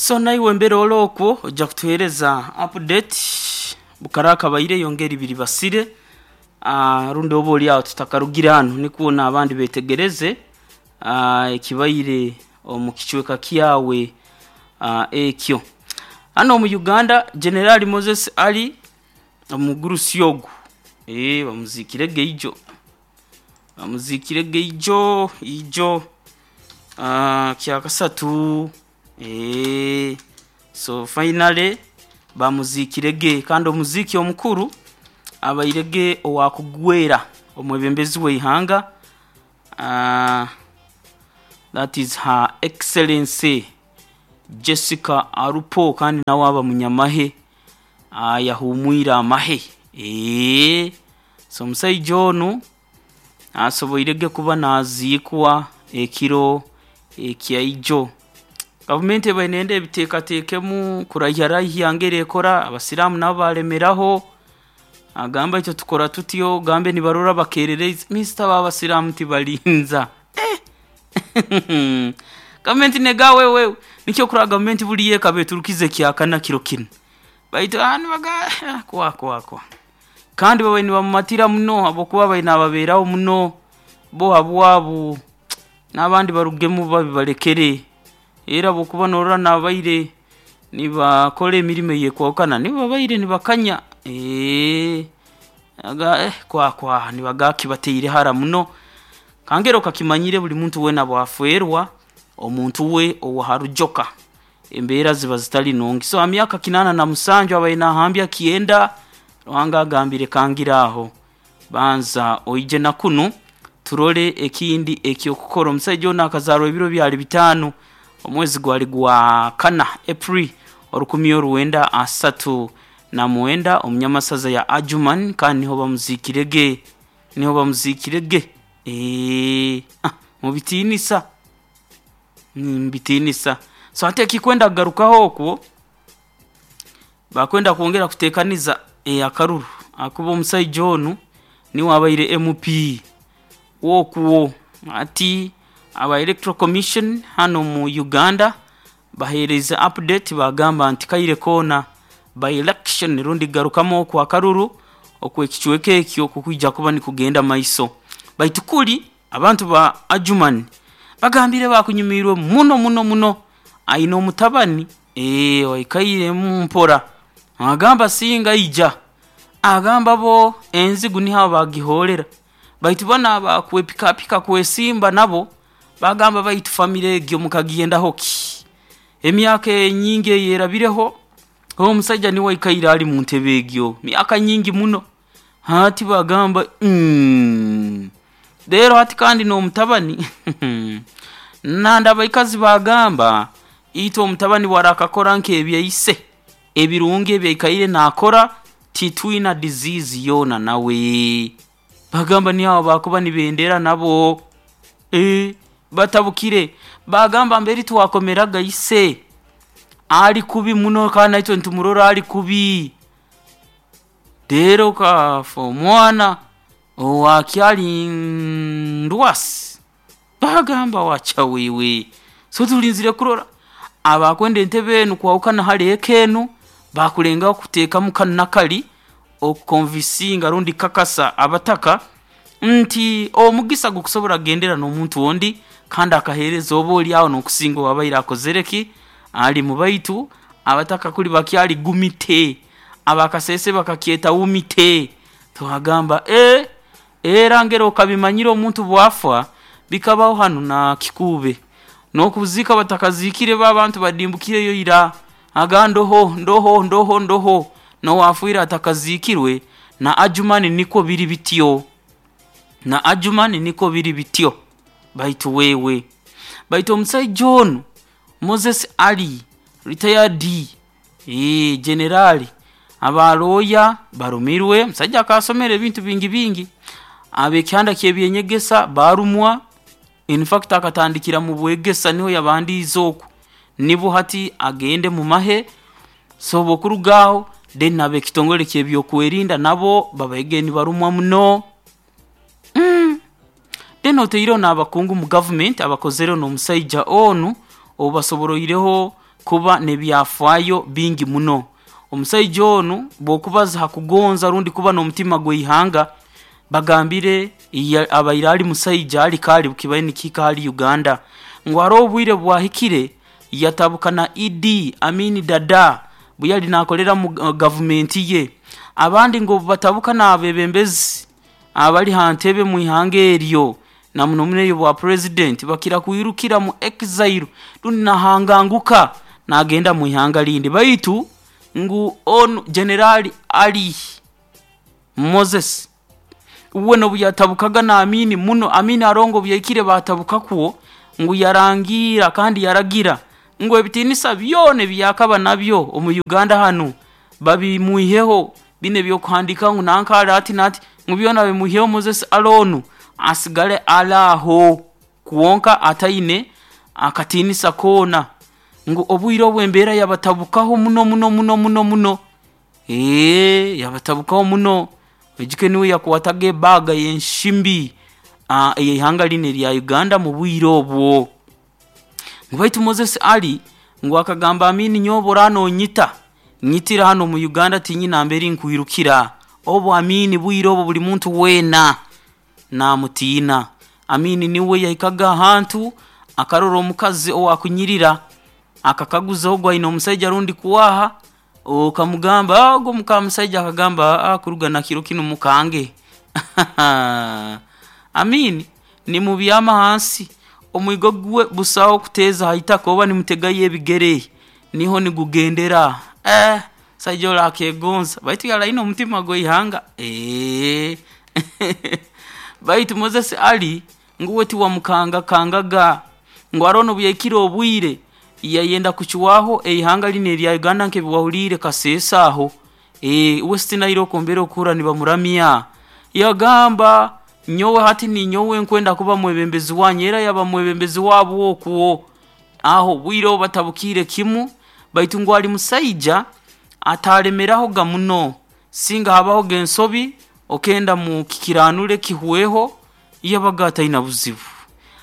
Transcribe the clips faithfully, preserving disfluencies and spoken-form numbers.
So naiwe embera olokwo ojja kutuhereza update bukara kabaire yongera ibiri basire uh, rundi oba oli aho tutakarugire hano nikwo n'abandi betegereze uh, ekibaire omu kicweka kyawe uh, ekyo hano omu Uganda. General Moses Ali omugurusi ogu eh bamuzikire ijo, bamuzikire ijo ijo uh, kyakasatu. eh so finally bamuzikirege, kandi omuziki omukuru abairege owakugwera omwebembezi w'eihanga, uh, that is Her Excellency Jessica Alupo, kandi nawe aba munyamahe uh, yahumwire amahe. eh so omusaija onu asoboirege kuba naziikwa ekiro ekyaijo. Gavumenti ebaire nenda ebiteekateekemu kuraiharaiha ngeri ekora abasiraamu nabo balemeraho, agamba itwe tukora tutyo, gambe nibarora bakerereza minisita b'abasiraamu tibalinza eh. Gavumenti nega wewe nikyo kura gavumenti buli yekaba eturukize kyakana kiro kinu baitu anu baga kwa kwa kwa kandi babaire nibamumatira muno habwokuba babaire nababeeraho muno bo habwabu n'abandi barugemu babi balekere, era bwokuba norora nabaire nibakora emirimo eyekwahukana nibo babaire nibakanya eh aga eh kwa kwa nibagaki bateire hara muno. Kangero kakimanyire buli muntu wena bwafwerwa omuntu we owaharujoka embeera ziba zitali nungi. So amyaka kinana na musanju abaire nahambya kyenda, Ruhanga agambire kangira aho banza oije na kunu turole ekindi ekyokukora. Omusaija ono akazarwa ebiro byali bitaano omwezi gwali gwa kana, April orukumi oruwenda asatu na mwenda, omunyamasaza ya Adjuman, kandi niho bamuzikirege, niho bamuzikirege eh ah, mubitinisa mubitinisa. So ate ekikwenda kugarukaho okwo bakwenda kwongera kutekaniza e, akaruru akuba omusaija onu niwe abaire M P wokwo. Ati aba Electoral Commission hano mu Uganda bahereza update, bagamba nti kaire koona by election rundi garukamu okwo akaruru okwekicweka ekyo kukwija kuba nikugenda maiso. Baitu kuli abantu ba Adjuman bagambire bakunyumirwe muno muno muno, aine omutabani eh waikairemu mpora agamba singa ija agamba bo enzigu niho bagihorera, baitu bana bakwepikapika kwesimba nabo bagamba baitu famire egyo mukagiyendaho ki emyaka enyingi eyerabireho, omusajja niwe aikaire ali mu ntebe egyo myaka nyingi muno. Hati bagamba mm. Rero hati kandi n'omutabani nanda abaikazi bagamba itwe omutabani warakakora nk'ebyaise ebirungi ebyaikaire nakora, titwina disease yoona nawe. Bagamba niho bakuba nibendera nabo e, batabukire bagamba mberi twakomeraga ise ali kubi muno kandi naitwe nitumurora ali kubi. Rero kafa omwana owakyali ndwasi, bagamba wacha wewe. So tulinzire kurora abakwenda entebe enu kwahukana hali eka enu bakulengaho kuteekamu kanu nakali okukonvisinga rundi kakasa abataka nti omugisa gukusobora kugendera n'omuntu ondi kandi akahereza oba oli aho n'okusinga owabaire akozere ki ali mu. Baitu abataka kuli bakyali gumite, abakasese bakakyeta wumite. Twagamba e era ngero okabimanyire omuntu bwafa bikabaho hano na kikuube n'okuzika batakazikire ba abantu badimbukireyo ira aga ndoho ndoho ndoho ndoho nowafwire atakazikirwe. Na Adjumani niko biri bityo, na Adjumani niko biri bityo. Baitu wewe baitu omusaija onu Moses Ali retired eh generali, abalooya barumirwe, omusajja akasomera ebintu bingi bingi, ab'ekyanda ky'ebyenyegesa barumwa. In fact akatandikira mu bwegesa, niho yabandiize okwo nibo hati agende mu mahe. So bwokurugaho then ab'ekitongole ky'ebyokwerinda nabo babaige nibarumwa muno mm. Then oteireho n'abakungu mu gavumenti abakozereho n'omusaija onu obu basoboroireho. kuba n'ebyafaayo bingi muno. Omusaija onu bw'okubaza ha kugonza rundi kuba n'omutima gw'ihanga, bagambire abaire ali musaija ali kali kibaire nikihika hali Uganda. Ngu haroho obwire bwahikire yatabuka na Idi Amin Dada bwe yali naakolera mu gavumenti ye. Abandi ngu obu batabuka n'abeebembezi abali ha ntebe mu ihanga eryo, na muno muno ey'obwa purezidenti, bakira kwirukira mu exile rundi nahanganguka naagenda mu ihanga rindi. Baitu ngu onu General Ali Moses uwe n'obu yatabukaga na Amin muno, Amin haroho obu yahikire baatabukakwo, ngu yarangiira kandi yaragira ngu ebitiinisa byona ebi yakaba nabyo omu Uganda hanu babimwiheho, binu eby'okuhandiika ngu nanka ali ati n'ati, ngu byona babimwiheho Moses Ali onu asigale ali aho kwonka ataine akatiinisa koona. Ngu obwire obu embeera yabatabukaho muno muno muno muno muno, ee yabatabukaho muno. Oijuke nuwe yakwataga ebaaga y'ensimbi ey'ihanga linu erya Uganda mu bwire obwo. Ngu baitu Moses Ali ngu akagamba Amin nyowe obu oraaba noonyita, nyitira hanu omu Uganda tinyina nambere nkwirukira. Obu Amin bwire obu buli muntu weena naamutiina. Amin niwe yahikaga ahantu akarora omukazi owaakunyirira, akakaguza ogu aine omusaija rundi kwaha, okamugamba ogu mukamusaija akagamba aa kuruga na kiro kinu mukange. Amin nimubyama hansi, omwigo gwe busaho kuteeza ha itaka oba nimutegayo ebigere, niho nigugendera. Eeh omusaija oli akeegonza baitu yali aine omutima gw'ihanga, eeh baitu Moses Ali ngu uwe tiwamukangakangaga, ngu haroho n'obu yahikire obwire yayenda kucwaho eihanga linu erya Uganda nk'ebi wahuliire Kasese aho, ee West Nile oku mbere okuhurra nibamuramya. Yagamba nyowe hati ninyowe nkwenda kuba mwebembezi wanyu, era yaba mwebembezi waabo okwo. Aho obwire obu batabukiire kimu, baitu ngu ali musaija ataalemerahoga muno, singa habahoga ensobi okenda mukikiranule kihweho, yabaga ataina buzibu.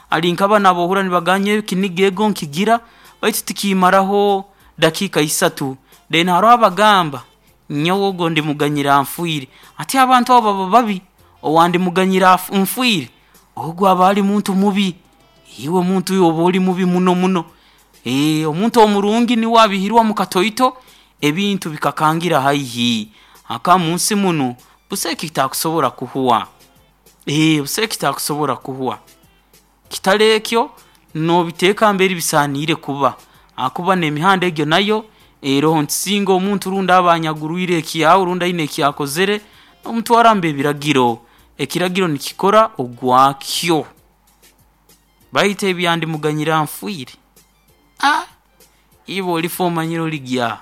Ali nka banu ab'ohurra nibagamba nyowe ekiniga ego nkigira baitu tikimmaraho dakiika isatu. Then haroho abagamba nyowe ogu ndimuganyira nfiire. Hati abantu abo baba babi, owa ndimuganyira nfiire, ogu aba ali muntu mubi, iwe muntu iwe oba oli mubi muno muno. Ee omuntu omurungi nuwe abiihirwamu katoito, ebintu bikakangira haihi. Habwokuba munsi munu busaho ekitakusobora kuhwa, ee busaho ekitakusobora kuhwa. Kitali ekyo, noobiteeka mbere bisaaniire kuba habwokuba n'emihanda egyo nayo eroho nti singa omuntu rundi aba anyagurwire ekyawe rundi aine eki akozere, nomutwara omu b'ebiragiro, ekiragiro nikikora ogwakyo. Baitu ebya ndimuganyira nfiire, aah iwe olifa omanyire oligya.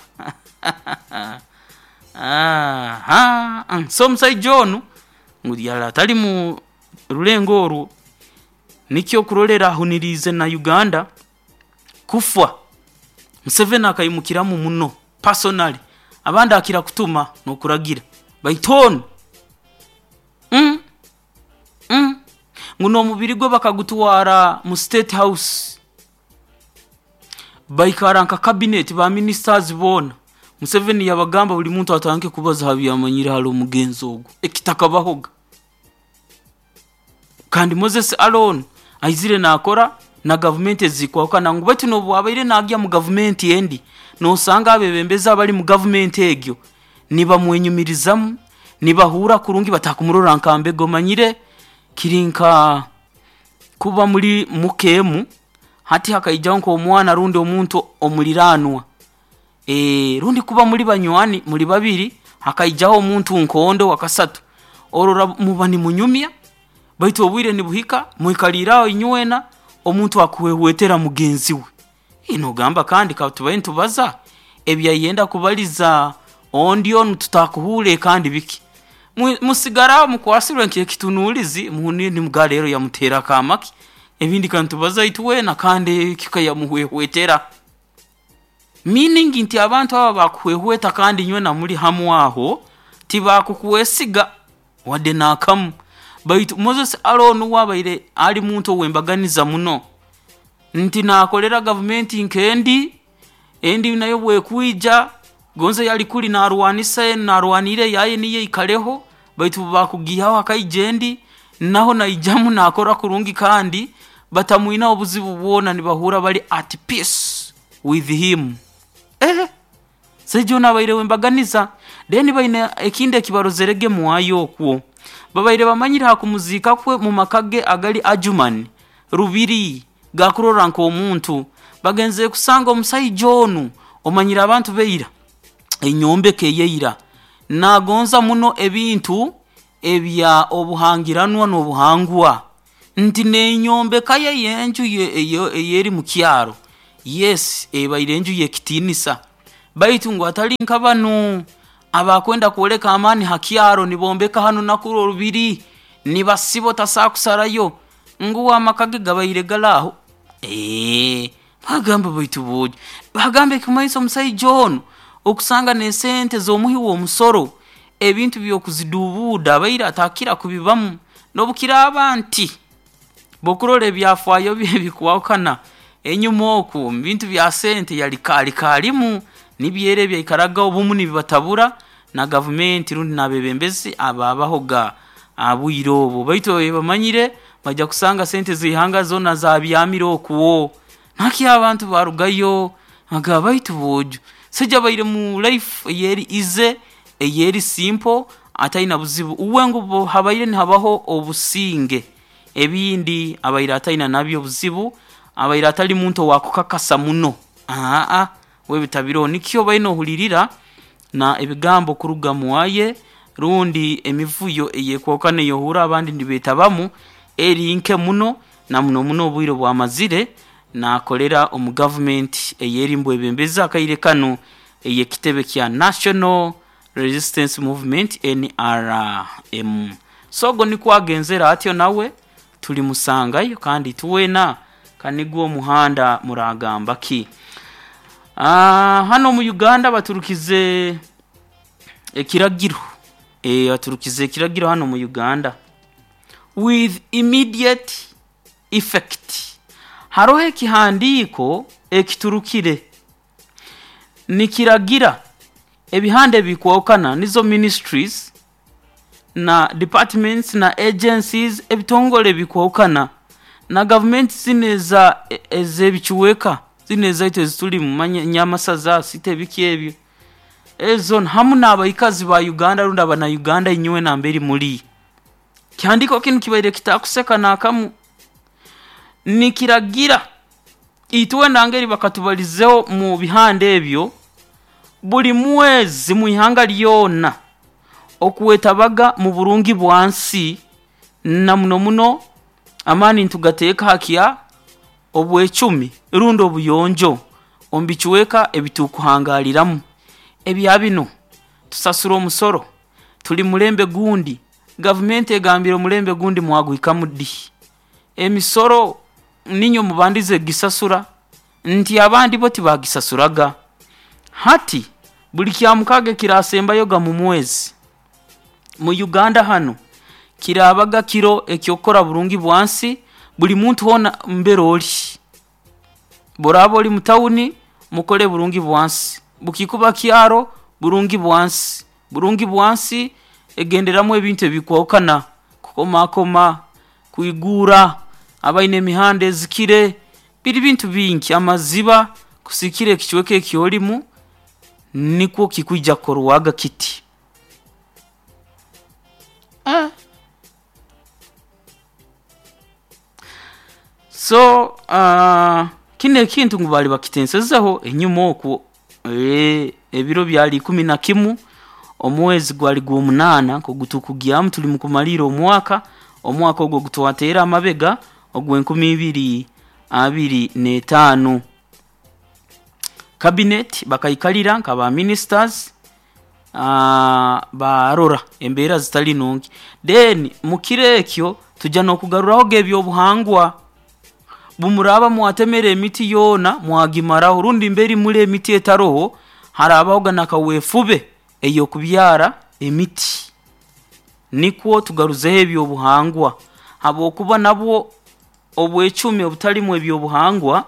Ahaa so omusaija onu ngu yali atali mu rulengo oru, nikyo okurorra ahuniriize na Uganda kufa, Museveni akaimukiramu muno personally, abandi akira kutuma n'okuragira baitu onu, ngu n'omubiri gwe bakagutwara mu State House, baikarra nka cabinet, ba ministers boona, Museveni yabagamba buli muntu atandike kubaza ha bi amanyire hali omugenzi ogu, ekitakabahoga. Kandi Moses Ali onu aizire naakora na gavumenti ezikwahukana ngu baitu n'obu abaire naagya mu gavumenti endi, noosanga abeebembezi abali mu gavumenti egyo nibamwenyumirizaamu, nibahurra kurungi batakumurora nka mbega omanyire kiri nka kuba muli muka emu, hati hakaijaho nk'omwana rundi omuntu omuliraanwa, rundi kuba muli banywani muli babiri hakaijaho omuntu nk'ondi owa kasatu, orora muba nimunyumya baitu obwire nibuhika mwikaliire aho inywena, omuntu akuhwehwetera mugenzi we. Noogamba kandi katubaire nitubaza, ebi ayenda kubaliza ondi onu tutakuhurra kandi biki? Musigara aho mukwasirwe nk'ekitunuulizi nimugamba leero yamuteera kaama ki? Ebindi kanitubaza itwena kandi eki kayamuhwehwetera. Meaning nti abantu abo abakuhwehweta kandi inywena muli hamu aho, tibakukwesiga wadde n'akamu. Baitu Moses Ali onu uwe abaire ali muntu ow'embaganiza muno, nti naakolera gavumenti nk'endi, Endi nayo bwekwija gonze yali kuli narwanisa narwanire yaye niye ikaleho, baitu bakugihaho akaija endi naho naijamu nakora kurungi, kandi batamwina obuzibu bwona, nibahura bali at peace with him. Eh, sejo nabaire wembaganiza. Then baine ekindi ekibarozerege mwayo okwo babaire bamanyire hakumuzika kwe mu makage agali Adjumani Rubiri gakurora nk'omuntu. Bagenze kusanga omusaija onu omanyire abantu beira enyombeka eyeira nagonza muno ebintu ebya obuhangiranwa n'obuhangwa, nti n'enyombeka ye y'enju eyeri mu kyaro, yes, ebaire enju y'ekitinisa, baitu ngu atali nka banu abakwenda kwoleka amaani ha kyaro nibombeka hanu nakuru orubiri nibasiba otasakusarayo, ngu amaka ge gabaire galaho. Eee, bagamba baitu bojo bagamba ekimaiso omusaija onu okusanga n'esente z'omuhi w'omusoro ebintu by'okuzidubuuda abaire atakira kubibamu, n'obukiraaba nti bokurora ebyafaayo bye bikwahukana enyuma oku mu bintu bya sente yali kaali kaalimu nibyera ebyaikaraga obumu nibibatabura na gavumenti rundi n'abeebembezi ababahoga abwire obwo, baitu bamanyire bajja kusanga sente z'ihanga zoona zabyamire okwo. Nakyo abantu barugayo bagamba baitu boojo saija abaire mu life eyeri easy, eyeri simple, ataina buzibu. Uwe ngu habaire nihabaho obusinge, ebindi abaire ataina nabyo obuzibu, abaire atali muntu owakukakasa muno, aa we bitabiroho. Nikyo baine ohulirira na ebigambo kuruga muwaye rundi emivuyo eyekwahukana eyohurra abandi nibeetabamu eri nke muno, na muno muno obwire bwamazire naakolera omu gavumenti eyeri mbwebembezi akaire kanu ey'ekitebe kya National Resistance Movement N R M. So ogwo nikwo agenzere atyo, nawe tulimusangayo kandi tuweena kanigwo omuhanda muragamba ki. Ah, hano mu Uganda baturukize ekiragiro, eh, baturukize ekiragiro hano mu Uganda with immediate effect. Haroho ekihandiiko ekiturukire nikiragira ebihanda ebikwahukana nizo ministries na departments na agencies, ebitongole ebikwahukana na gavumenti zino eza ez'ebicuweka zino ezaitu ezitulimu nyamasaza site ebiki ebyo ezo hamu n'abaikazi ba Uganda rundi abana Uganda inyowe namberi muri. Kihandiiko kinu kibaire kitakuseka n'akamu, nikiragira itwe nangeri bakatubalizeho mu bihanda ebyo buli mwezi mu ihanga lyona okwetabaga mu burungi bwansi, na muno muno amaani nitugateeka hakya obwecumi rundi obuyonjo omu bicweka ebitukuhangaliramu. Ebya bino tusasura omusoro, tuli mulembe gundi, gavumenti egambire omulembe gundi mwagwikamu ddi? Emisoro ninywe mubandize gisasura, nti abandi bo tibagisasuraga. Hati buli kyamukaga ekirasembayoga mu mwezi mu Uganda hano kirabaga kiro ekyokukora burungi bwansi, buli muntu hoona mbere ori, boraba ori mu tawuni mukole burungi bwansi, bukikuba kyaro burungi bwansi. Burungi bwansi egenderamu ebintu ebikwahukana, kukomakoma, kwiguura, abaine emihanda ezikire, biri bintu bingi, amaziba kusikira ekicweka ekyorimu nikwo kikwija kukorwaga kiti. Eh. So uh, kino ekintu ngu bali bakitensezeho enyuma okwo, eh, ebiro byali ikumi na kimu omwezi gwali gw'omunaana nkogutukugyamu tuli mukumaliira omwaka, omwaka ogwo gutwateera amabega ogw'enkumi ibiri abiri n'etaano. Cabinet bakaikalira nka ba ministers, uh, barora embeera zitali nungi, then mukiro ekyo tujja n'okugaruraho ebyobuhangwa. Bumuraaba mwatemere emiti yoona mwagimaraho, rundi mberi muli emiti etaroho, harabahoga nakaweefube ey'okubyara emiti, nikwo tugaruzeho ebyobuhangwa, habwokuba nabwo obwecumi obutalimu ebyobuhangwa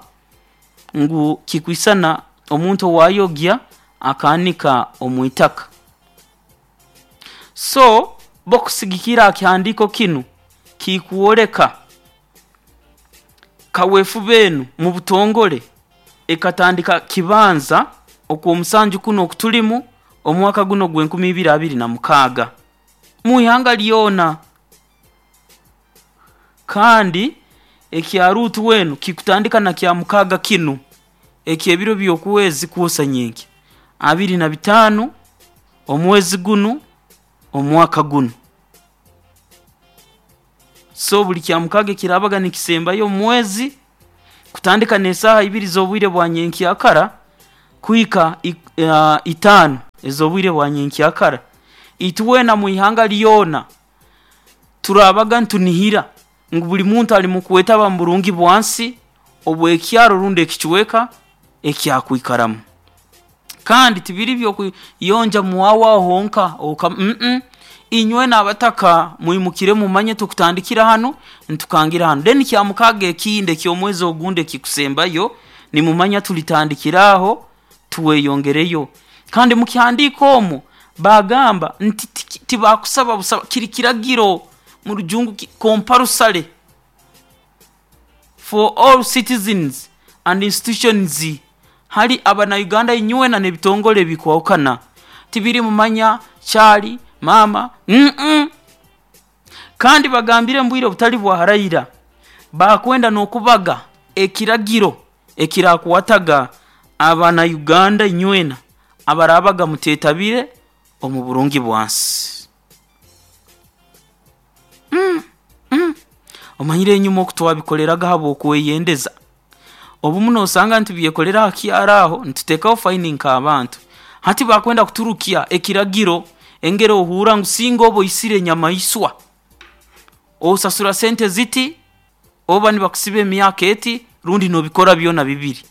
ngu kikwisana Omuntu owayogya akaanika omu itaka. So bokusigikira kihandiiko kinu kikwoleka kaweefube enu mu butongole ekatandika kibanza okw'omusanju kuno okutulimu omwaka guno ogw'enkumi ibiri abiri na mukaaga mu ihanga lyona. Kandi ekya Ruutu wenu kikutandika na Kyamukaaga kinu eky'ebiro by'okwezi kwosa nyenkya abiri na bitaano omwezi gunu omwaka gunu. So buli Kyamukaaga ekiraabaga nikisembayo omu mwezi kutandika n'esaaha ibiri z'obwire bwa nyenkyakara kuhika uh, itaano ez'obwire bwa nyenkyakara, itwena mu ihanga lyona turaabaga nitunihira ngu buli muntu ali mu kwetaba mu burungi bwansi obw'ekyaro rundi ekicweka eki akwikaramu. Kandi tibiri by'okuyonja muwawe aho honka oka mm inywena abataka mwimukire mumanye tukutandikira hanu ntukangira hanu. Then Kyamukaaga ekindi eky'omwezi ogundi ekikusembayo nimumanya tulitandikira aho tuweyongereyo. Kandi mu kihandiiko omwo baagamba nti tibakusaba busaba, kiri kiragiro mu Rujungu compulsory for all citizens and institutions, hali Abannayuganda inywena n'ebitongole ebikwahukana. Tibiri mumanya kyali maama mm kandi bagambire mu bwire obutali bwa haraira bakwenda n'okubaga ekiragiro ekirakwataga Abannayuganda inywena abaraabaga muteetabire omu burungi bwansi. Mm, mm. Omanyire enyuma oku twabikoleraga habw'okweyendeza, obumu noosanga nitubyekolera aha kyaro aho nituteekaho faini nk'abantu. Hati bakwenda kuturukya ekiragiro engeri ohurra ngu singa oba oisire enyamaiswa osasura sente ziti oba nibakusiba emyaka eti rundi noobikora byona bibiri.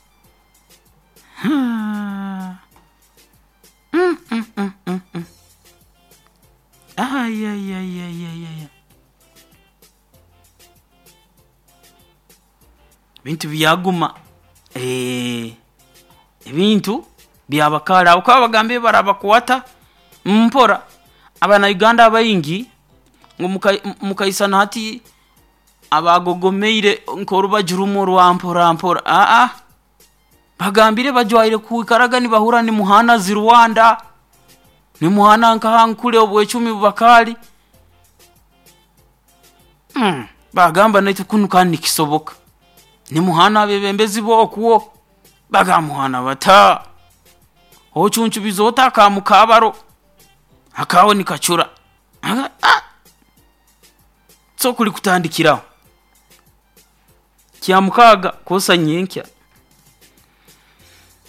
Hmm. Mm, mm, mm, mm, mm. Ayayayayaya, ebintu byaguma, eeh, ebintu byabakaali aho kuba bagambire barabakwata mpora. Abannayuganda abaingi ngu mukaisana hati abagogomeire nk'orubaju rumwe orwa mpora mpora, aa bagambire bajwaire kwikaraga nibahurra nimuhaana zi Rwanda, nimuhaana nkaha Ankole obwecumi bubakaali. Mm, bagamba naitwe kunu kandi nikisoboka. Nimuhaana abeebembezi b'okwo, bagamba muhaana bata? Ocuncubiza ota aka mukaabaro akaawe nikacura. Ah! So kuli kutandikiraho Kyamukaaga kwosa nyenkya.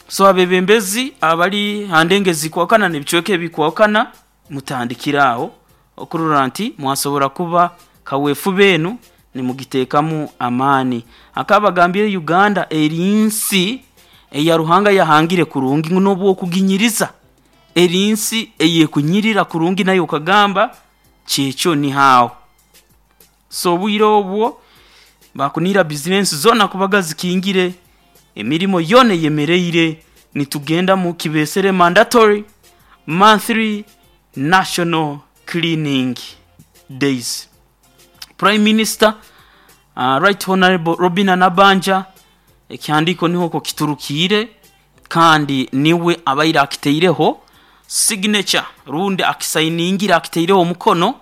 So abeebembezi abali ha ndengo ezikwahukana n'ebicweka ebikwahukana mutandikire aho okurora nti mwasobora kuba kaweefube enu nimugiteekamu amaani. Akabagambire Uganda eri nsi eya Ruhanga yahangire kurungi ngu n'obu okuginyiriza eri nsi ey'ekunyirira kurungi nayo okagamba kyekyo niho aho. So obwire obwo bakunihira bizinensi zoona kubaga zikingire, emirimo yoona eyemereire, nitugenda mu kibeesere mandatory monthly national cleaning days. Prime Minister uh, Right Honorable Robinah Nabbanja ekihandiiko niho okwo kiturukiire kandi niwe abaire akitaireho signature rundi akisainingire akitaireho omukono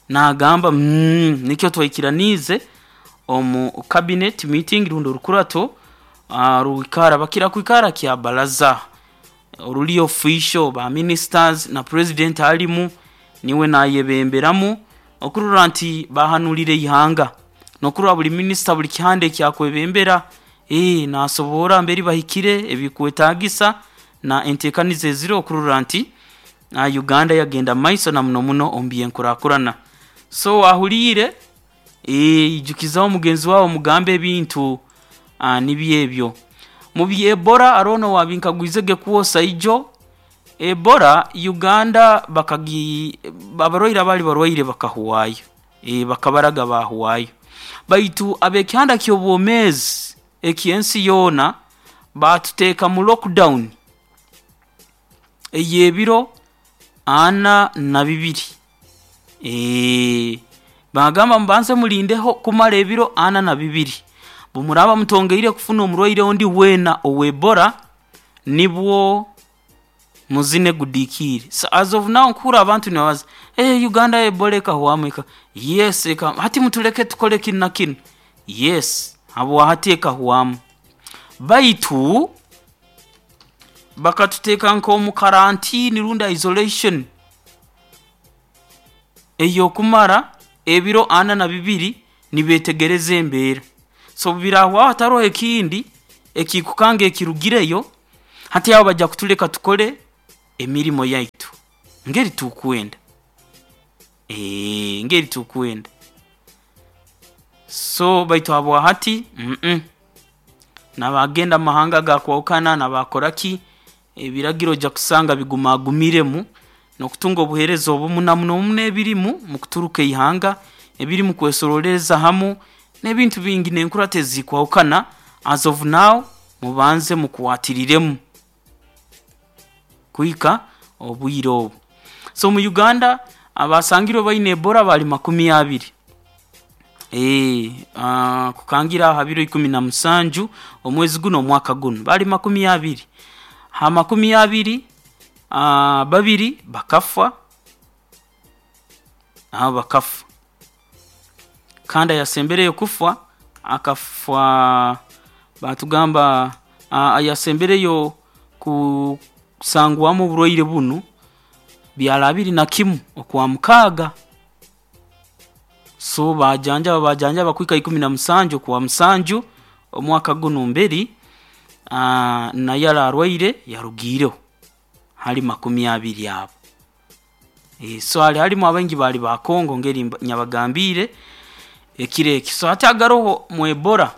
naagamba mm, nikyo twaikiraniize omu cabinet meeting rundi orukurato uh, rwikara bakira kwikara kya baraza oruli official ba ministers na president alimu niwe naayebemberamu okurora nti bahanulire ihanga n'okurora buli minisita buli kihanda ekyakwebembera ee naasobora mbere bahikire ebikwetaagisa na enteekaniza eziri okurora nti uh, Uganda yagenda maiso na muno muno omu by'enkurakurana. So ahuliire ee, ijukizaho mugenzi waawe omugambe ebintu uh, nibyo ebyo. Mu by'Ebola arono wabinkagwizege kwosa ijo, Ebola Uganda bakagi abarwaire abaali barwaire bakahwayo, ee, bakabaraga baahwayo. Baitu ab'ekihanda ky'obwomeezi eky'ensi yoona Batuteeka mu lockdown ey'ebiro ana na bibiri. Eee bagamba mubanze mulindeho kumara ebiro ana na bibiri, bumuraba mutongeire kufuna omurwaire ondi weena owa Ebola, nibwo muzine gudiikiire. So as of now nkuhurra abantu nibabaza, "Eeh, Uganda Ebola ekahwamu eka." Yes, eka, hati mutuleke tukole kinu na kinu. Yes, habwa hati ekahwamu, baitu bakatuteeka nk'omu karantini rundi isolation ey'okumara ebiro ana na bibiri nibeetegereza embeera. So obu birahwaho hataroho ekindi ekikukanga ekirugireyo, hati aho bajja kutuleka tukole emirimo yaitu ngeri tukwenda, ngeri tukwenda. So baitu habwa hati mmh n'abagenda mumahanga agakwahukana n'abakora ki, ebiragiro ojja kusanga bigumagumiremu n'okutunga obuheereza obumu na muno muno ebirimu mukuturuka ihanga, ebirimu kwesorooleza hamu n'ebintu bingi n'enkurato ezikwahukana. As of now mubanze mukwatiriremu kuhika obwire obu. So mu Uganda abasangirwe baine Ebola bali makumi abiri, kukangira ha biro ikumi na musanju omwezi gunu omwaka gunu bali makumi abiri. Ha makumi abiri, babiri bakafa, abo bakafa, kandi ayasembereyo kufa akafa baatugamba ayasembereyo kusangwamu oburwaire bunu byali abiri na kimu Okwamukaaga. So baajanjaba baajanjaba kuhika ikumi na musanju Okwamusanju omwaka gunu mberi, naye yali arwaire yarugiireho hali makumi abiri abo. So hali harumu abaingi baali ba Congo ngeri nabagambiire ekiro eki. So hati agaroho mu Ebola,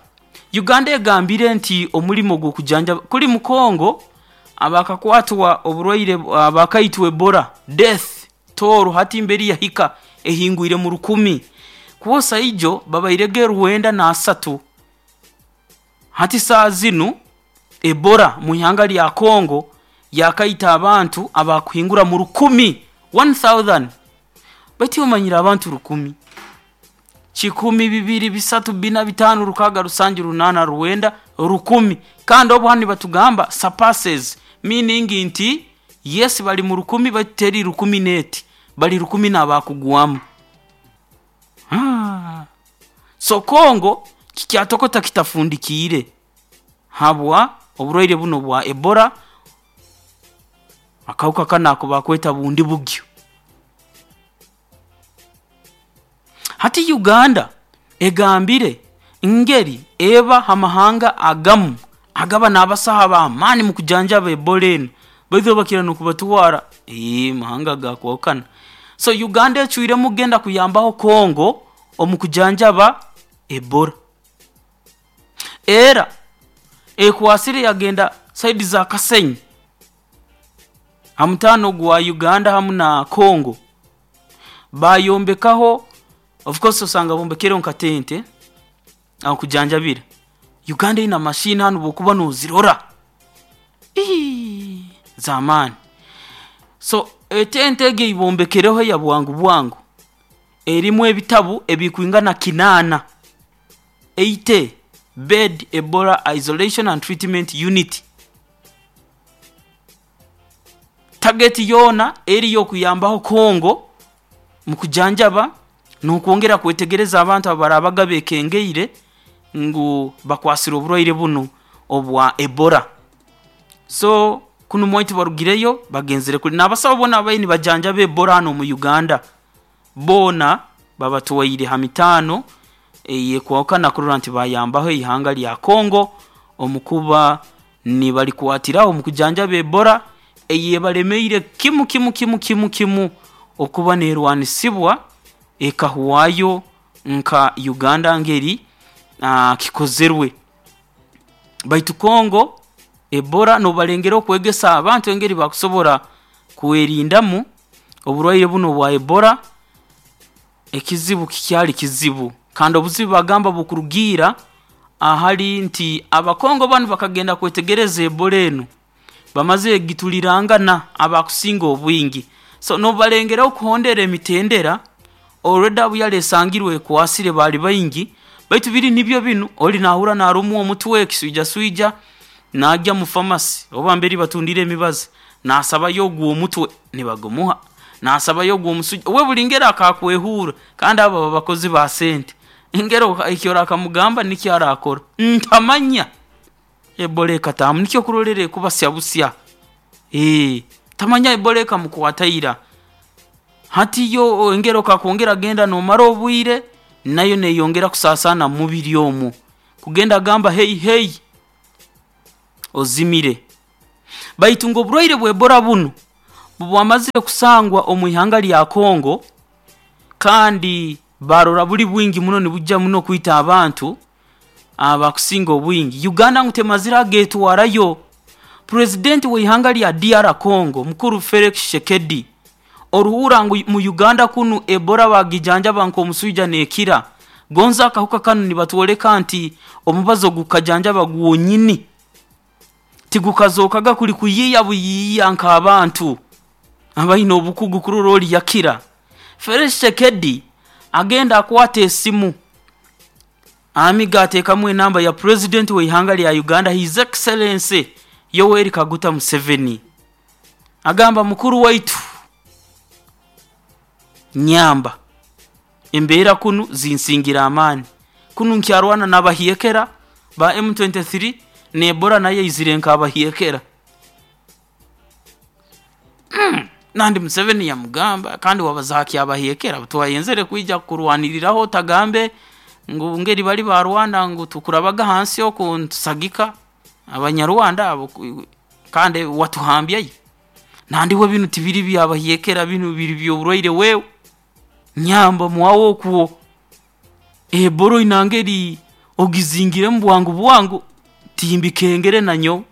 Uganda egambire nti omurimo gw'okujanjaba, kuli mu Congo abakakwatwa oburwaire abakaitwa Ebola death toll hati mbere yahika ehingwire mu rukumi, kwosa ijo babairege rwenda n'asatu, hati saaha zinu Ebola mwihanga lya Congo yakaita abantu abakuhingura mu rukumi, one thousand. Baitu iwe omanyire abantu rukumi, kikumi, bibiri, bisatu, bina, bitaano, rukaaga, rusanju, runaana, rwenda, rukumi, kandi obu hanu nibatugamba surpasses, meaning nti yes bali mu rukumi baitu teri rukumi neeti, bali rukumi n'abakugwamu. So Congo kikyatokota kitafundikiire habwa oburwaire bunu obwa Ebola, akahuka kanu aku bakweta Bundibugyo. Hati Uganda egambire ngeri eba ha mahanga agamu agaba n'abasaho ab'amaani mukujanjaba Ebola enu, baitu bo bakira n'okubatwara mahanga agakwahukana. So Uganda ecwiremu kugenda kuyambaho Congo omu kujanjaba Ebola. Era ekwasire yagenda side za Kasenyi ha mutaano gwa Uganda hamu na Congo, baayombekaho, of course osanga bombekereho nka tente ahokujanjabira. Uganda ine machine hanu obu okuba noozirora, iii z'amaani. So etente egi ei bombekereho eya bwangu bwangu erimu ebitabu ebikwingana kinaana, eighty bed Ebola isolation and treatment unit. Target yoona eri y'okuyambaho Congo mukujanjaba n'okwongera kwetegereza abantu abaraabaga beekengeire ngu bakwasirwe oburwaire bunu obwa Ebola. So kunu mwaitu barugireyo bagenzere kuli n'abasaho boona ababaire nibajanjaba Ebola hanu omu Uganda, boona babatwaire ha mitaano eyeekwahukana kurora nti bayambaho ihanga lya Congo omu kuba nibalikwatiraho omu kujanjaba Ebola eyeebalemeire kimu kimu kimu kimu kimu okuba neerwanisibwa ekahwayo nka Uganda ngeri kikozerwe. Baitu Congo Ebola noobalengereho kwegesa abantu engeri bakusobora kwerindamu oburwaire bunu obwa Ebola, ekizibu kikyali kizibu kandi obuzibu bagamba bukurugiira Ahali nti abakongo banu bakagenda kwetegereza Ebola enu bamaze egitulirangana abakusinga obwingi. So nobalengeraho kuhondera emitendera already abo yalesangirwe ekwasire bali baingi, baitu biri nibyo binu oli nahurra narumwa omutwe ekiswijaswija najya mu pharmacy oba mbere batundira emibazi nasabayo ogw'omutwe nibagumuha, nasabayo ogw'omusujja, we buli ngeri akakwehurra, kandi abo baba bakozi ba sente, engeri eki orakamugamba nikyo arakora. Ntamanya Ebola ekataahamu, nikyo okurorra ekubasya busya, eeh tamanya Ebola ekamukwata ira. Hati yo engeri okakwongera genda nomara obwire, nayo neeyongera kusaasaana mu mubiri omu, kugenda gamba hei hei ozimire. Baitu ngu oburwaire bwa Ebola bunu bwamazire kusangwa omu ihanga lya Congo kandi baarora buli bwingi muno nibwija muno kwita abantu abakusinga obwingi, Uganda ngu temazire ageetwarayo. Purezidenti w'ihanga lya D R Congo mukuru Felix Tshisekedi oruhuura ngu mu Uganda kunu Ebola bagijanjaba nk'omuswija neekira, gonza akahuka kanu nibatwoleka nti omubazi ogukukajanjaba gwonyini tigukazookaga kuli kuyiiya buyiiya nk'abantu abaine obukugu kurora oli yakira. Felix Tshisekedi agenda akwata esimu amiga ateekamu enamba ya purezidenti w'ihanga lya Uganda His Excellency Yoweri Kaguta Museveni, agamba mukuru waitu nyamba, embeera kunu zinsingira amaani, kunu nkyarwana n'abahyekera ba M twenty three n'Ebola nayo eizire nk'abahyekera. Nandi Museveni yamugamba kandi wabaza ha ky'abahyekera twayenzere kwija kukurwaniriraho otagambe ngu ngeri bali ba Rwanda ngu tukurabaga hansi oku nitusagika abanyarwanda abo kandi watuhambyayo. Nandi we binu tibiri by'abahyekera, binu biri by'oburwaire wewe nyamba mwawe okwo Ebola oina ngeri ogizingiremu bwangu bwangu timbikengere nanyowe.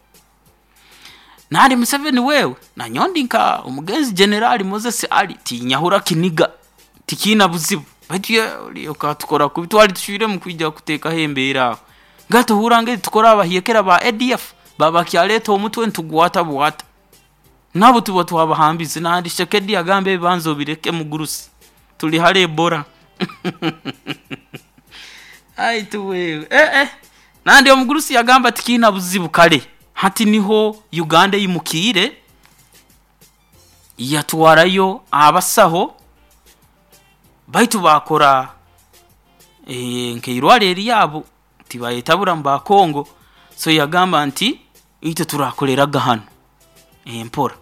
Nandi Museveni wewe nanyowe ndi nka omugenzi General Moses Ali, tinyahura kiniga, tikiina buzibu, baitu oli okatukora kubi, twali tucwiremu kwija kuteekaho embeera aho. Nga tohurra ngeri tukora abahyekera ba A D F baba bakyaleeta omutwe nitugwata bwata, nabo tuba twabahambize. Nandi Tshisekedi agamba ebibanza obireke mugurusi, tuli hali Ebola. Aitu wewe eh eh nandi omugurusi yagamba tikiina buzibu. Kale hati niho Uganda eimukiire yatwarayo abasaho baitu baakora nk'eirwarro eryabo, tibayetabura mu ba Congo. So yagamba nti itwe turakoleraga hanu empora,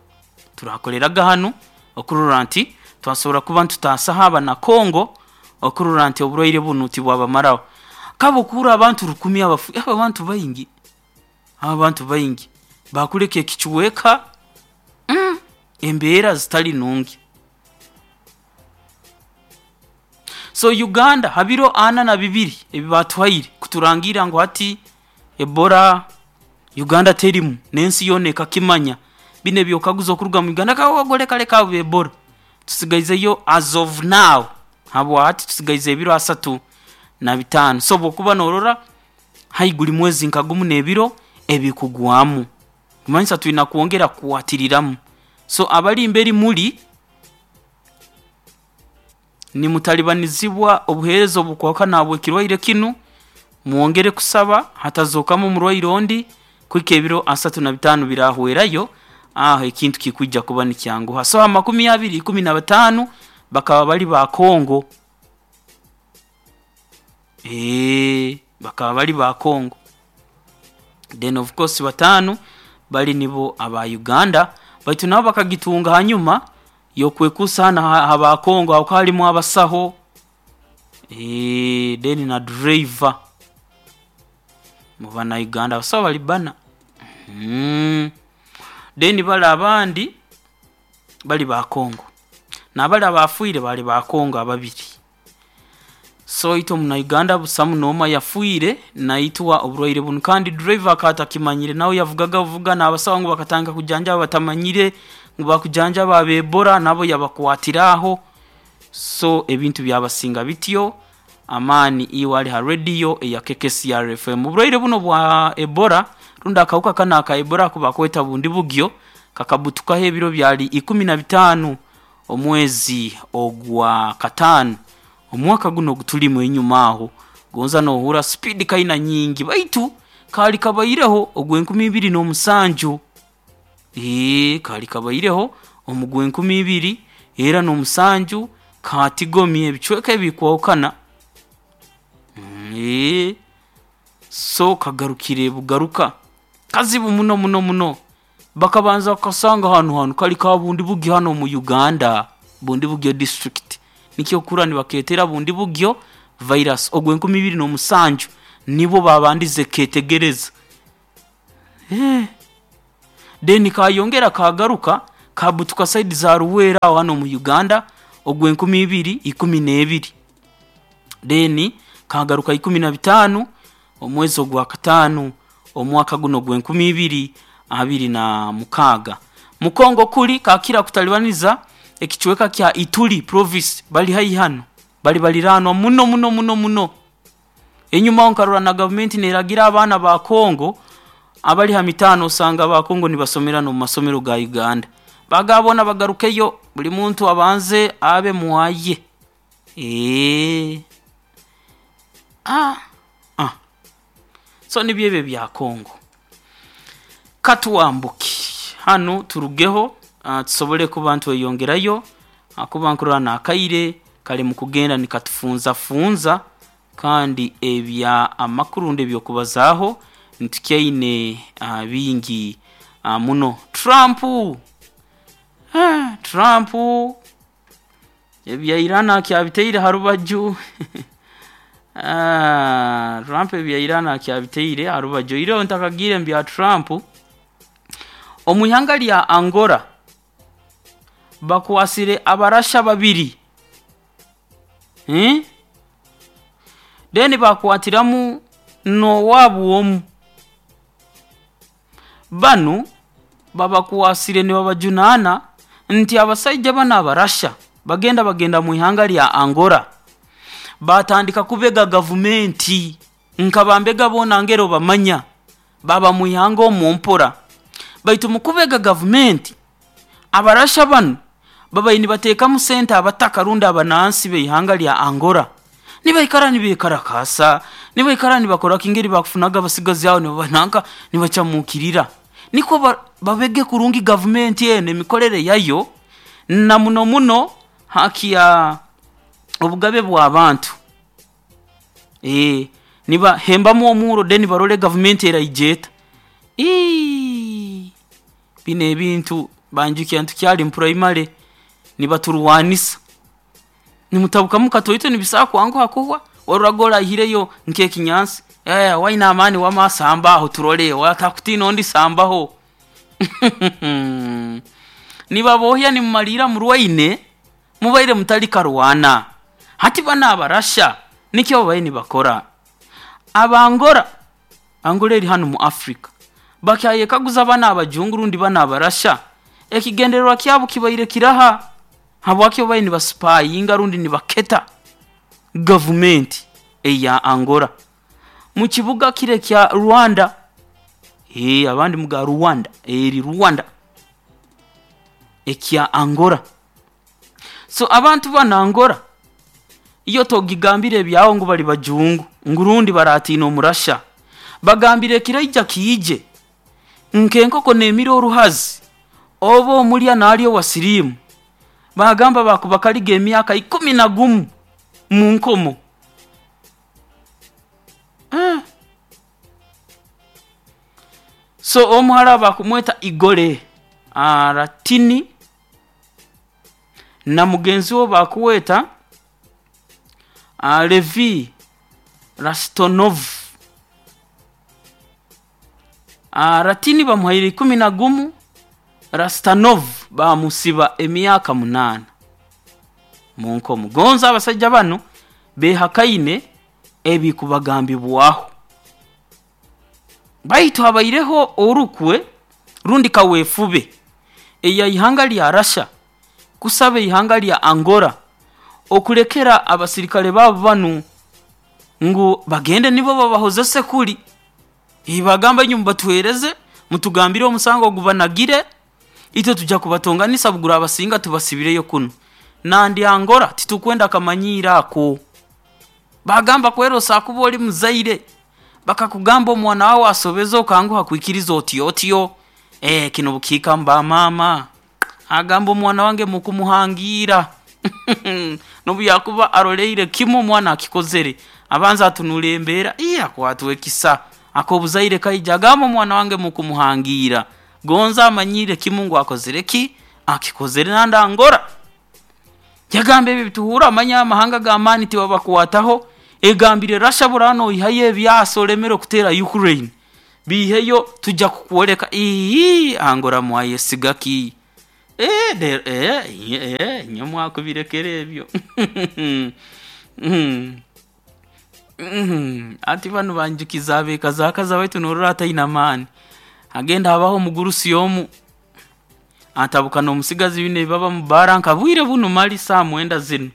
turakoleraga hanu okurora nti twasobora kuba nitutaasaho abana Congo, okurora nti oburwaire bunu tibwabamaraho. Kaba okuhurra abantu rukumi abafu, abo abantu baingi, abo abantu baingi baakuleka ekicweka mm, embeera zitali nungi. So Uganda ha biro ana na bibiri ebi baatuhaire kuturangira ngu hati Ebola Uganda terimu n'ensi yoona ekakimanya, binu eby'okukaguza okuruga mu Uganda leka leka abo Ebola tusigaizeyo as of now, habwa hati tusigaize ebiro asatu na bitaano. So obu okuba noorora haihi guli mwezi nka gumu n'ebiro ebikugwamu, kumanyisa twina kwongera kukwatiriramu. So abali mberi muli nimutalibanizibwa obuheereza obukwahukana habw'ekirwaire kinu, mwongere kusaba hatazookamu omurwaire ondi kuhika ebiro asatu na bitaano biraahwerayo, aho ekintu kikwija kuba nikyanguha. So ha makumi abiri ikumi na bataano bakaba bali ba Congo, bakaba bali ba Congo, then of course bataano bali nibo aba Uganda, baitu nabo bakagitunga hanyuma y'okwekuusa hanu ha ba Congo habwokuba halimu abasaho then na driver mu bana Uganda abasaho bali bbana. Then bali abandi bali ba Congo, na bali abaafiire baali ba Congo ababiri. So itwe omuna Uganda busamu n'omu ayafiire naitwa oburwaire bunu, kandi driver akaba atakimanyire, nawe yavugaga buvuga, n'abasaho ngu bakatandika kujanjaba batamanyire ngu bakujanjaba aba Ebola, nabo yabakwatiraho, so ebintu byabasinga bityo. Amaani iwe ali ha radio eya K K C R F M. Oburwaire buno bwa Ebola rundi akawuka kano aka Ebola ako bakweta bundi bugyo kakabutukaho ebiro byali ikumi na bitaano omwezi ogwa kataano omwaka guno ogutulimu enyuma aho gonza nohura speed kaina nyingi baitu kali kabaireho ogw'enkumi ibiri n'omusanju. Ee, kali kabaireho omugw'enkumi ibiri era n'omusanju katigomye ebicweka ebikwahukana. Ee, so kagarukire bugaruka kazibu muno muno muno. Bakabanza kasanga hanu hanu kali ka bundi bugyo hano mu Uganda, bundi bugyo district nikyo kura nibaketera bundi bugyo virus ogw'enkumi ibiri n'omusanju nibo babandize ketegereza. Eh, then kayongera kagaruka kabutuka side za Ruwera aho hano mu Uganda ogw'enkumi ibiri ikumi n'ebiri, then kagaruka ikumi na bitaano omwezi ogwa kataano omwaka guno gw'enkumi ibiri abiri na mukaaga. Mukongo kuli kakira kutalibaniza ekicweka kya Ituri province bali haihi hano bali baliranwa muno muno muno muno. Enyuma nkarora na government neragira abaana ba Kongo abali ha mitano osanga ba Kongo nibasomera no mu masomero ga Uganda bagabona bagarukeyo buli muntu abanze abe muwaye. Eh, ah ah so nibyebe bya Kongo. Katuwambuki hano turugeho uh, tusobole kuba ntweyongerayo akuba nkurora nakaire kali mu kugenda nikatufunza funza kandi ebya amakuru ndebyokubazaho ntukyaine uh, bingi uh, muno. Trump ah, Trump ebya Iran akyabiteire harubaju. Ah, Trump ebya Iran akyabiteire harubaju. Iro ntakagire mbya Trump omuihanga lya Angola bakwasire abarasha babiri, hmm? Then bakwatiramu nowabu omu banu babakwasire nibabajunana nti abasajja bano abarasha bagenda bagenda mu ihanga lya Angola batandika kubega gavumenti nkabambega bona ngero bamanya baba mu ihanga omumpora baitu mukubega gavumenti abarasha bano babayi nibateekamu sente abataka rundi abanansi b'ihanga lya Angola nibaikara nibekarakasa nibaikara nibakora kingeri bakufunaga abasigazi aho nibabananka nibacamukirira niko ba, babege kurungi gavumenti eno emikorere yayo na muno muno haki ya obugabe bw'abantu. Eh, niba hembamu omuro deni barole gavumenti eraijeta. Ii bino ebintu banjukiya ntukyali mu primary nibaturwanisa nimutabukamu katoito nibisaba kwanguha kuhwa waruraga orahireyo nkekinyansi eh waina amani wamasamba aho turole watakutina ondi sambaho. Nibabohya nimumalira murwaine mubaire mutali karwana hati bana abarasha nikyo babaye nibakora. Abangora Angola eri hano mu Africa bakyayekaguza bana abajungu rundi bana abarasha ekigendererwa kyabo kibaire kiraha habwaki babaye nibasipayinga rundi nibaketa gavumenti eya Angola mu kibuga kire kya Rwanda. Eh, abandi muga Rwanda eri Rwanda ekya Angola. So abantu bana Angola iyo togigambire ebyawo ngu bali bajungu ngurundi baratina omurasha bagambire kiraija kiije nkenkoko nemira oruhazi oba omulya nalyo wasirimu bagamba bakubakaliga emyaka ikumi na gumu mu nkomo. Eh. So omuhara bakumweta Igore Aratini na mugenzi we bakuweta Levi Rastonov. Ratini bamuhaire ikumi na gumu, Rastanov bamusiba emyaka munana mu nkomo. Gonza abasajja bano behakaine ebikubagambibwaho baitu habaireho orukwe rundi kawefube eya ihanga lya Russia kusaba ihanga lya Angola okulekera abasirikale babo banu Ngu bagende nibo babahozese kuli. Bagamba inywe mubatuhereze, mutugambire omusango ogubanagire, itwe tujja kubatonganisa bugura abasinga tubasibireyo kunu. Nandi Angola titukwenda kamanyiiro ako. Bagamba kwerosa kuba oli muzaire, bakakugamba omwana wawe asobeze okanguha kwikiriza otyo otyo. Eh, kino bukiika mba mama. Agamba omwana wange mukumuhangira. Nobu yakuba aroleire kimu omwana akikozere. Abanza atunula embeera, iye akwatwa ekisa. Akobuzaire kaija agamba omwana wange mukumuhangira. Gonza amanyire kimu ngu akozere ki? Akikozere nandi Angola. Yagamba ebi bituhura amanya amahanga g'amaani tibabakwataho. Egambire Russia burano oihayo ebyasa olemere okuteera Ukraine. Biiheyo tujja kukwoleka. Ii, Angola mwayesiga ki? Eh, de, eh, eh, inywe mwakubirekera ebyo. Mm. Mm. Ati banu banjukiza abeekazaakaza baitu norora ataine amaani. Agenda habaho omugurusi omu atabuka n'omusigazi bine baba mu baara nka bwire bunu mali saa mwenda zinu.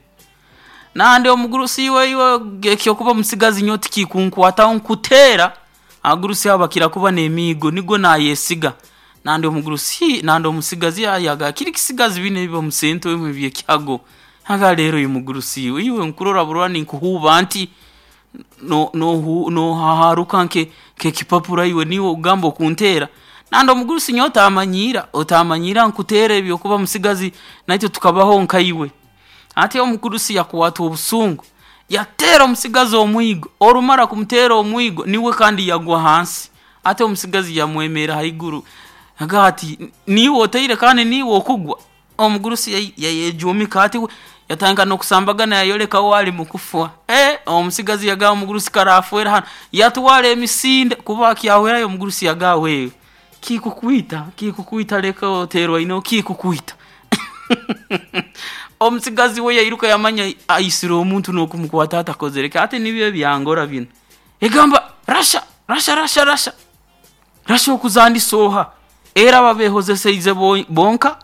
Nandi omugurusi iwe iwe ekyokuba omusigazi nyowe tikikunkwataho nkuteera. Abagurusi abo bakira kuba n'emiigo nigwo naayesiga. Nandi omugurusi nandi omusigazi yayaga kiri kisigazi bine biba omu sente emwe eby'ekyago. Aga leero oyu mugurusi iwe iwe nkurora burora ninkuhuuba nti no no nohaharuka nke nk'ekipapura iwe niiwe ogamba okunteera. Nandi omugurusi nyowe otamanyiira, otamanyiira nkuteera ebyokuba musigazi naitwe tukabaho nkaiwe. Ati omugurusi yakwatwa obusungu, yateera omusigazi omwigo, orumara kumuteera omwigo niwe kandi yagwa hansi. Ati omusigazi yamwemeera haiguru agamba ati niiwe oteire kandi niiwe okugwa. Omugurusi yayejuumika ati yatandika n'okusambagana yayoleka we ali mukufa. Eh, omusigazi yagamba omugurusi karaafwera hanu, yatwara emisinde kuba akyahwerayo omugurusi yagamba wewe kikukwita, kikukwita leka oteerwa ino kikukwita. Omusigazi we yairuka yamanya aisire omuntu n'okumukwata atakozere ki. Ati nibyo ebyangora binu. Egamba Russia, Russia, Russia, Russia. Russia okuzandisa oha? Era babehozeseize bonka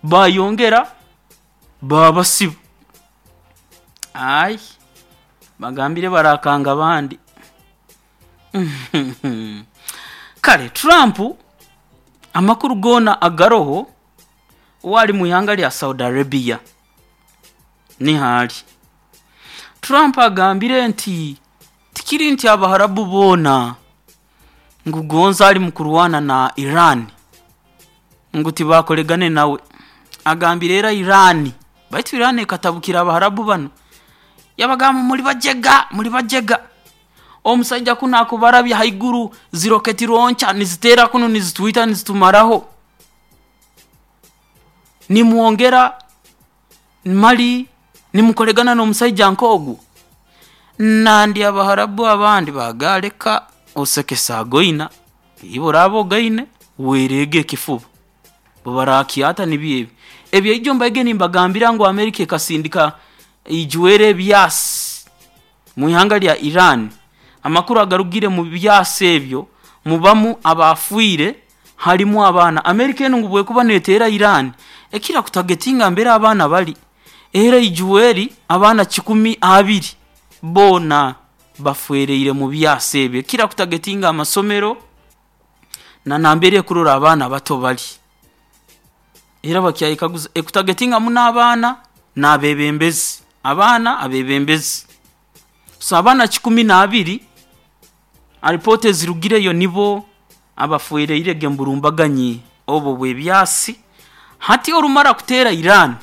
bayongera babasiba. Ai, bagambire barakanga abandi. Kale Trump amakuru goona agaroho wali mu ihanga lya Saudi Arabia niho ali. Trump agambire nti tikiri nti Abaharabu boona ngu gonza ali mu kurwana na Iran ngu tibakoregane nawe. Agambire era Iran, baitu Iran ekatabukira Abaharabu banu. Yabagamba muri bajega, muri bajega. Omusaija kunu akubarabya haiguru ziroketi ronca niziteera kunu nizitwita nizitumaraho. Nimwongera mali nimukoregana n'omusaija nk'ogu. Nandi Abaharabu abandi bagaleka osekesa agoina, iwe oraaba ogaine wereege ekifuba. Barakyata nibyo ebi. Ebyo mbaige nimbagambira ngu Amerika ekasindika ijwere ebyasi mu ihanga lya Iran. Amakuru agarugire mu byasi ebyo mubamu abafiire harimu abaana. Amerika enu ngu bwekuba neteera Iran ekira kutagetinga mbere abaana bali. Era ijweri abaana kikumi abiri boona bafwereire mu byasi ebyo. Ekira kutagetinga amasomero na nambere ekurora abaana bato bali. Era bakyayekaguza ekutagetinga muno abaana n'abeebembezi. Abaana abeebembezi. So abaana kikumi n'abiri alipoota ezirugireyo nibo abafwereirege mu burumbaganyi obwo bw'ebyasi. Hati orumara kuteera Iran,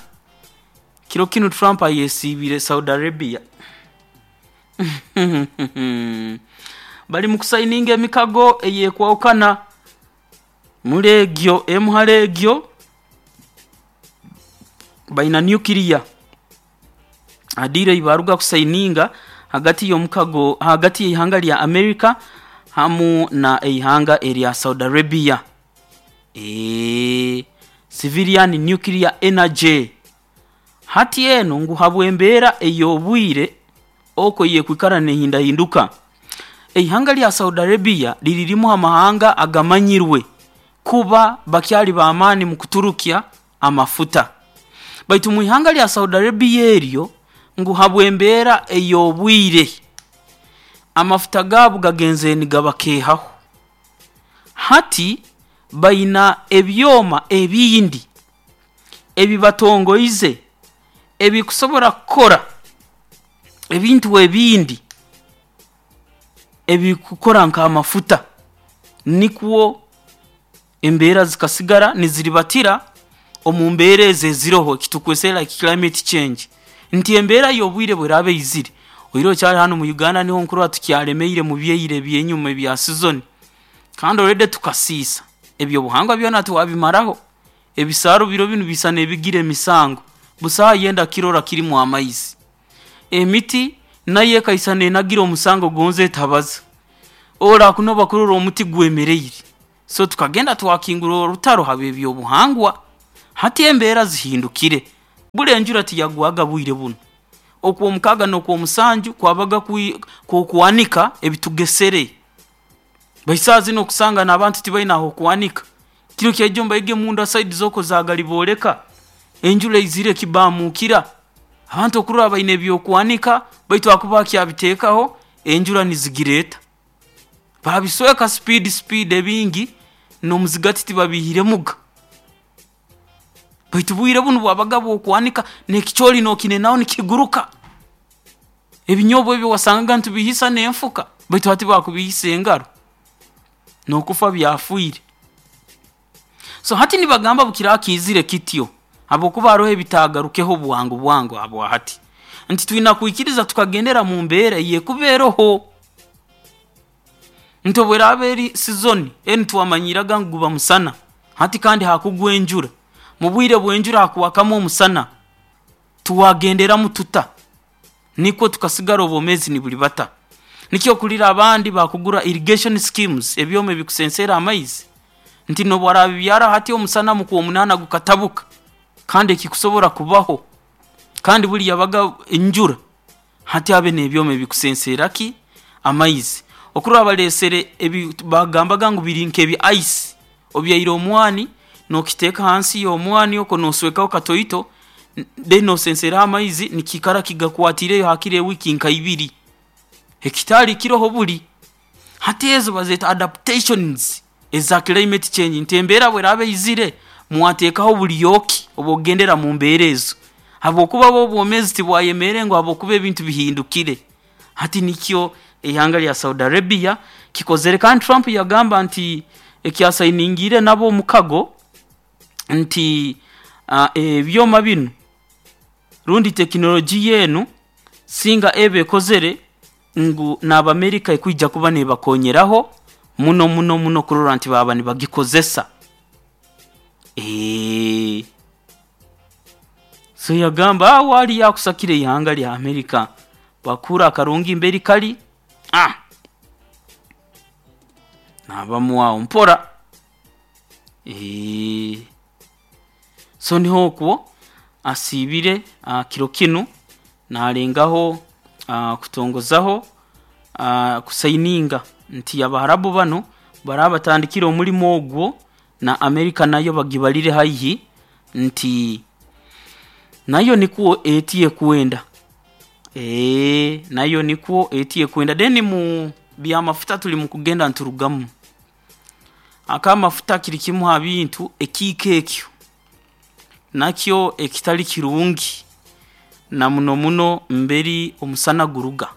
kiro kinu Trump ayesiibire Saudi Arabia. Bali mu kusayininga emikago eyekwahukana muri egyo emu hali egyo baina nuclear adiire ei baruga kusayininga hagati y'omukago hagati y'ihanga lya America hamu na eihanga erya Saudi Arabia. Eee, civilian nuclear energy. Hati eno ngu habw'embeera ey'obwire okwo eyekwikara neehindahinduka. Eihanga lya Saudi Arabia liri rimu ha mahanga agamanyirwe kuba bakyali b'amaani mu kuturukya amafuta. Baitu mu ihanga lya Saudi Arabia eryo ngu habw'embeera ey'obwire Amafuta gaabo gagenzere nigabakeehaho. Hati baina ebyoma ebindi ebibatongoize ebikusobora kukora ebintu ebindi ebikukora nk'amafuta, nikwo embeera zikasigara niziribatira omu mbeera ezo eziroho ekitukwesere like climate change, nti embeera y'obwire bweraaba eizire oire okyali hanu mu Uganda, niho nkurora tukyalemeire mu byaira ebyenyuma ebya season, kandi already tukasiisa ebyobuhangwa byona twabimaraho. Ebisaaru biro binu biisana ebigira emisango, busaho ayenda kirora kirimu amaizi. Emiti nayo ekaisana enagira omusango gonze etabaza, orakunoba kurora omuti gwemereire. So tukagenda twakingura orutaro habw'ebyobuhangwa. Hati embeera zihindukire, buli enjura tiyagwaga bwire bunu, okwomukaaga n'okwomusanju kwabaga kwi kw'okwanika ebitugesere. Baitu saaha zinu okusanga n'abantu tibaina ah'okwanika. Kiro kyaijo mbaige munda side z'oku za Galibooleka, enjura eizire ekibaamuukira, abantu okurora baina ebyokwanika baitu akuba akyabiteekaho enjura nizigireeta. Baabisweka speed speed, ebingi n'omuzigati tibabiihiremuga. Baitu bwire bunu bwabaga bw'okwanika n'ekicooli nookinenaho nikiguruka. Ebinyoobwa ebi wasangaga nitubiihisa n'enfuka, baitu hati bakubiihisa engaro, n'okufa byafiire. So hati nibagamba bukiraaba kiizire kityo, habwokuba haroho ebitaagarukeho bwangu bwangu habwa hati, nti twina kwikiriza tukagendera mu mbeera eyekuba eroho, nti obu eraaba eri season enu twamanyiraga ngu guba musana, hati kandi hakugwa enjura, mu bwire bw'enjura hakwakamu omusana, tuwagenderamu tuta nikwo tukasigara obwomeezi nibulibata. Nikyo okulira abandi bakugura irrigation schemes, ebyoma ebikusenseera amaizi, nti nobu araabibyara hati omusana mu kwomunaana gukatabuka, kandi ekikusobora kubaho, kandi buli yabaga enjura, hati abe n'ebyoma ebikusenseera ki amaizi. Okurora baleesere ebi bagambaga ngu biri nk'ebi ice, obyaire omwani nookiteeka hansi y'omwani okwo nooswekaho katoito, then noosenseeraho amaizi nikiikara kigakwatiireyo haakiri ewiiki nka ibiri, ekitaali kiroho buli. Hati ezo bazeeta adaptations eza climate change, nti embeera obu eraaba eizire, mwateekaho bulyo ki obw'okugendera mu mbeera ezo, habwokuba bo obwomeezi tibwayemerre ngu habwokuba ebintu bihindukire. Hati nikyo ihanga lya Saudi Arabia kikozere, kandi Trump yagamba nti eki asainingiire nabo omukago nti ebyoma binu rundi tekinologiya enu singa eba ekozere ngu n'Abamerika ekwija kuba neebakoonyeraho muno muno muno kurora nti baaba nibagikozesa. So yagamba aho hali akusakire ihanga lya Amerika, bakuura akarungi mbere kali, naabamu aho mpora. So niho okwo asiibire kiro kinu naalengaho kutongozaho kusaininga nti Abaharabu banu baraaba batandikire omulimo ogwo na Amerika nayo bagibalire haihi nti nayo nikwo eti ekwenda, nayo nikwo eti ekwenda. Then mu by'amafuta tuli mukugenda niturugamu. Ak'amafuta kiri kimu ha bintu ekiika ekyo nakyo ekitali kirungi na muno muno mbere omusana guruga,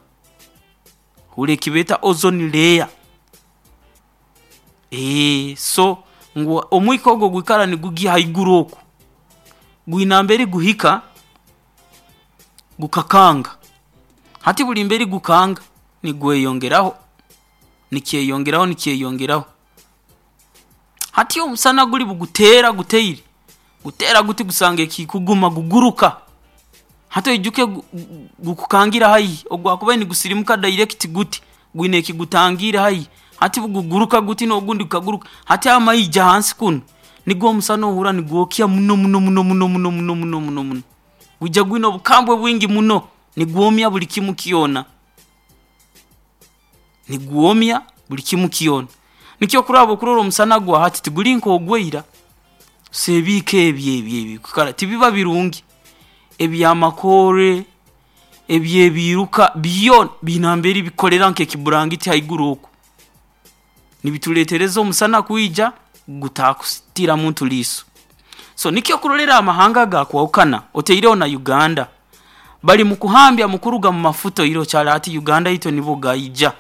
hurra eki beeta ozone layer. So ngu omwika ogu ogwikara nigugya haiguru oku, gwina mbere guhika gukakanga. Hati buli mbere gukanga, nigweyongeraho, nikyeyongeraho nikyeyongeraho. Hati omusana guli buguteera guteire, guteera guti gusanga ekikuguma guguruka, hati oijuke gukukangira haihi, obu gwakubaire nigusirimuka direct guti, gwina eki gutangiire haihi, hati buguguruka guti n'ogundi gukaguruka, hati amaija hansi kunu, nigwo omusana ohurra nigwokya muno muno muno muno muno muno muno muno muno, gwija gwina obukambwe bwingi muno, nigwomya buli kimu kyona, nigwomya buli kimu kyona. Nikyo okurora obu okurora omusana gwa hati tiguli nk'ogwaira, so ebiika ebi ebi ebi tibiba birungi, eby'amakoore, Ebyebiruka byo binamberi bikolera nk'ekiburangiti haiguru oku, nibituletereza omusana kwija gutakusitira muntu liiso. So nikyo kurolera amahanga gakwahukana, oteireho na Uganda, bali mu kuhambya mu kuruga mu mafuta. Oiro kyali ati Uganda itwe nibwo gaija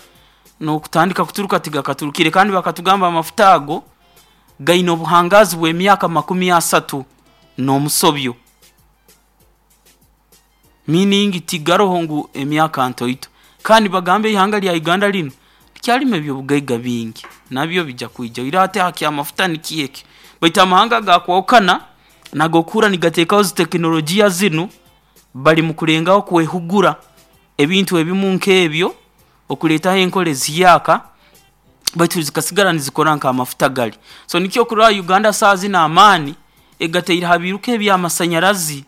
n'okutandika kuturuka, tigakaturukire. Kandi bakatugamba amafuta ago gaine obuhangazi bw'emyaka makumi asatu n'omusobyo, meaning tigaroho ngu emyaka ntoito. Kandi bagamba ihanga lya Uganda linu likyalimu ebyobugaiga bingi, nabyo bijja kwija. Oiro ate ha kyamafuta nikyo eki, baitu amahanga gakwahukana nago okuhurra nigateekaho zi tekinologiya zinu, bali mu kulengaho kwehugura ebintu ebimu nk'ebyo, okuleetaho enkora ezihyaka baitu zikasigara nizikora nk'amafuta gali. So nikyo okurora Uganda saaha zinu amaani egateire ha biiruka eby'amasanyarazi.